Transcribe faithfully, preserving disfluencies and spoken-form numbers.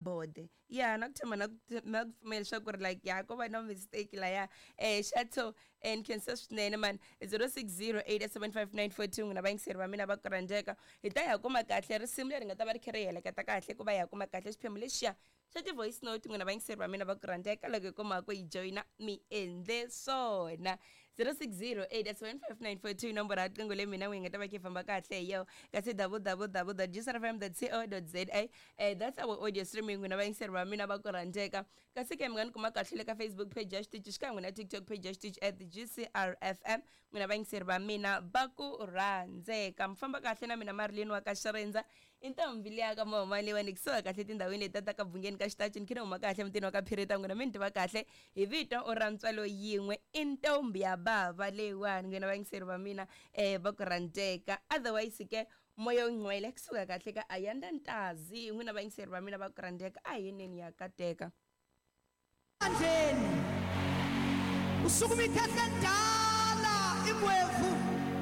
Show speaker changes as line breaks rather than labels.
Bode ya na ku tshemba na ku na ku pfumela leswaku ri like ya ko va na mistake laya eh Chateau and khensa swinene man zero six zero eight seven five nine four two n'wina vayingiseri va mina va ku rhandzeka hi ta ya kuma kahle risimu leri nga ta va ri kha ri heleketa kahle ku va ya kuma kahle xiphemu lexiya xa ti-voice note n'wina vayingiseri va mina va ku rhandzeka loko hi kuma ku yi joyina mi endle swona zero six zero eight seven five nine four two nomboro ya riqingho leyi mina n'wi nga ta va kha yi famba kahle hi yo kasi double double double dot gcrfm dot co dot za eh, that's our audio streaming n'wina vayingiseri va mina va ku rhandzeka kasi ke mi nga ni kuma kahle le ka Facebook page ya xitichi xikan'we na TikTok page ya xitichi at G C R F M. N'wina vayingiseri va mina va ku rhandzeka, mi famba kahle na mina Marilyn wa ka Xirendza i ntombi liya ka mahuma leyiwani kusuka kahle tindhawini leti ta ka Bungeni ka Xitachi ni khina huma kahle mutini wa ka Phirita. N'wina mi ni tiva kahle hi vito ra ntswalo yin'we i ntombi ya bava leyiwani. N'wina vayingiseri va mina um va ku rhandzeka, otherwise ke moya wu ngcwele kusuka kahle ka Ayanda Ntazi. N'wina vayingiseri va mina va ku rhandzeka, a hi yeneni ya kateka.
Bandleni usukuma ikhehla endala ingwevu.